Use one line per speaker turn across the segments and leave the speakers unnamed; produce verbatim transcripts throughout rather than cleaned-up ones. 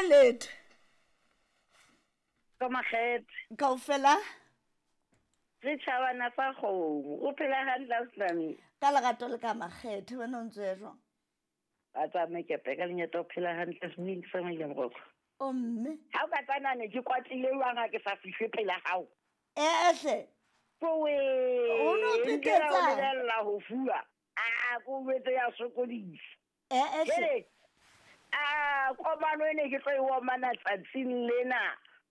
Letho.
Ka makgethe.
Kaofela.
Re tjhabana sa kgomo. O phela hantle ausi.
Ka lerato le ka makgethe wena o ntse o ya jwang?
Ba tsamaye ke peka lenyata o phela hantle semoyeng sa maile moroko.
O mme.
Ha o ka tsana ne ke kwatlile jwang ha ke sa fihle pela hao?
Ehle.
Kowe.
O no
Nkela
phetetsa.
o lebella ho fuwa. A ko jwetse ya sokodisa.
Ehle.
Jwale, a komano e ne ke tlo e omana tsatsing lena,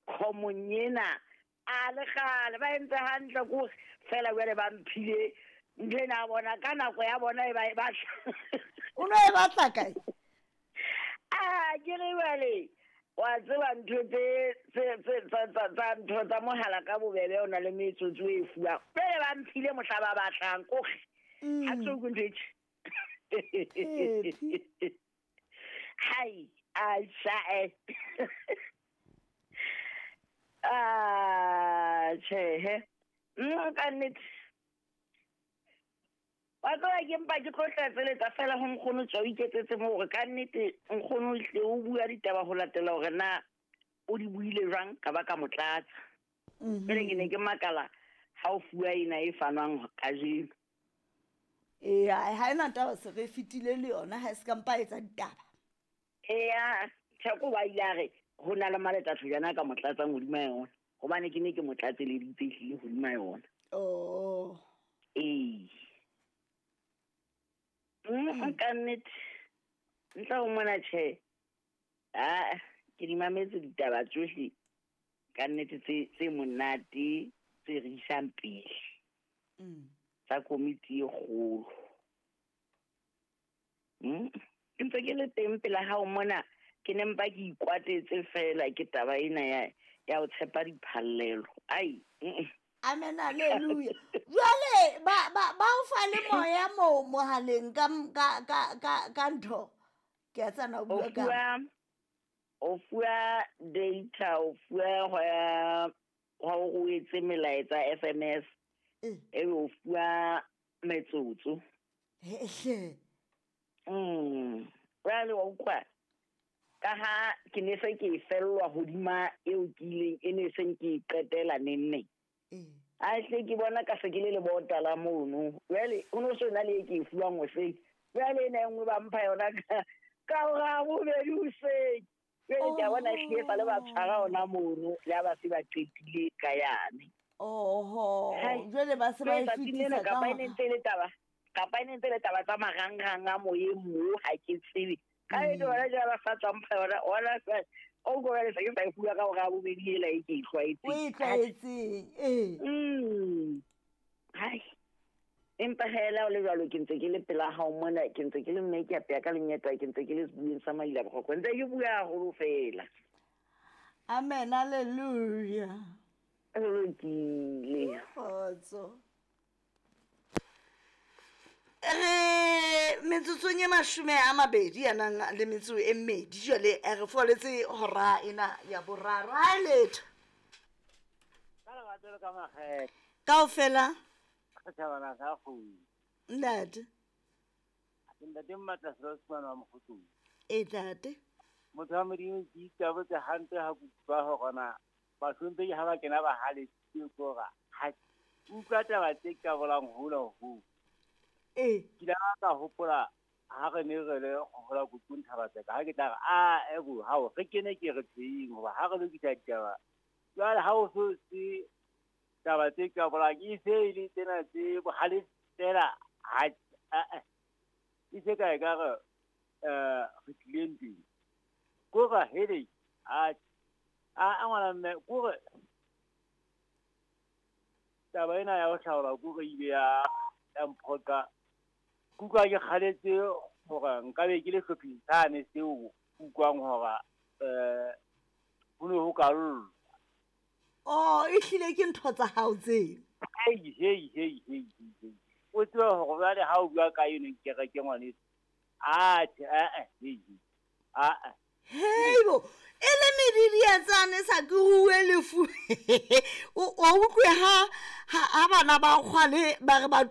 kgomong ena. A le kgale ba entse hantle ko fela jwale ba mphile ntho ena ya bona ka nako ya bona e ba e batla.
O no e batla kae?
A ke re jwale wa tseba ntho tse tse tse tsa tsa tsa ntho tsa mohala ka bobebe o na le metsotso e fuwang. Jwale ba mphile mohla ba batlang kore ha ke so utlwe ntho e tjhe.
Phephi.
Hai, a sha eh. Ah, tjhehe. Mm, ka nnete. Wa tseba ke mpa ke tlo tlatseletsa fela ho nkgono tswa o iketsetse moo hore ka nnete nkgono o hle o bua ditaba ho latela hore na o di buile jwang ka ba ka mo tlatsa. Jwale ke ne ke makala ha o fuwa ena e fanwang kajeno.
Ee, ha ena taba se re fetile le yona ha e se ka mpa etsa ditaba.
Eya, Theko wa ile a re ho na le malethatho jana ka mo tlatsang hodima yona. Hobane ke ne ke mo tlatseleditse ehlile hodima yona.
Oh.
Ee. Mm, ka nnete. Ntle ho mona tjhe. Ah, ke di mametse ditaba tsohle ka nnete tse tse monate tse re isang pele.
Mm.
Tsa komiti e kgolo. Mm. Ke ntse ke le teng pela hao mona, ke ne mpa ke ikwatetse fela ke taba ena ya ya ho tshepa diphallelo. Ai, mm.
Amen, hallelujah. Jwale ba ba ba o fa le moya mo mohaleng ka ka ka ka ka ntho. Ke a tsana o
O
bua ka.
fuwa o fuwa data, o fuwa ho ya ho o etse melaetsa S M S.
Eh.
Ebe o fuwa metsotso.
Ehle.
Mm. Jwale wa utlwa ka ha ke ne se ke e fellwa hodima eo ke ileng e ne seng ke e qetela neng neng.
Eh.
A hle ke bona ka se ke le lebota la mono. Jwale ho no so na le e ke e fuwang hoseng. Jwale ena e nngwe ba mpha yona ka ka hora bobedi hoseng. Jwale ke a bona ehlile e sale ba tshwara hona mono, le ha ba se ba qetile ka yane.
Oho,
Hai.
jwale ba se ba e
Jwale tsatsing lena
fetisa ka
kapa e
hora.
ne ntse e le taba, kapa e ne ntse e le taba tsa marangrang a moyeng moo ha ke tsebe. Ka
Mm.
ene hona jwale ba sa tswa mpha yona, hona jwale, o ko jwale se ke sa e fuwa ka hora ya bobedi ela e ke e tlwaetseng.
O e tlwaetseng, ee.
Mm. Hai. Empa hela o le jwalo ke ntse ke le pela hao mona, ke ntse ke le mme ke apeya ka lenyeta, ke ntse ke le sebueng sa Maila Boroko, ntse ke bua haholo fela.
Amen, hallelujah.
Ho lokile.
Kgotso. Re metsotsong e mashome a mabedi a nang le metso e mmedi jwale re foletse hora ena ya boraro. Ha letho.
Ka lerato le ka makgethe.
Kaofela.
Setjhabana sa kgomo.
Ntate.
Ntate Mmatla Selosmane wa Mokgotlong.
E ntate.
Motho wa Modimo ke itabotse hantle ha ke utlwa hore na bahlomphehi ha ba kena ba halefile ke hore ha utlwa taba tse qabolang hona ho.
Ee.
Ke ile ka hopola ha re ne re le hola Kutung Thabatseka, ha ke tla re, a, ebo, hao, re kene ke re teng, hoba ha re lokisa ditaba. Jwale ha o so se taba tse qabolang, e se e le tsena tse bohale fela, ha, a, a, e se ka e ka re, eh, re tlile ntweng. Kore hele, a, a, a ngwana mme, kore taba ena ya ho hlaola kore ile ya, ya mphoqa. Ke utlwa ke kgaletse hore nkabe ke le hlopheng sane seo utlwang hore, eh, ho ne ho ka llwa.
Oh, ehlile ke ntho tsa hao tseo.
Hei, hei, hei, hei, hei, hei. O tsebe hore jwale ha o bua ka eno kereke ngwaneso. Atjhe, eh, eh, hei, hei. Ah, ah.
Heibo, e le medidietsane sa ke rue lefu. O, o utlwe ha, ha, ha bana ba kgwale ba re ba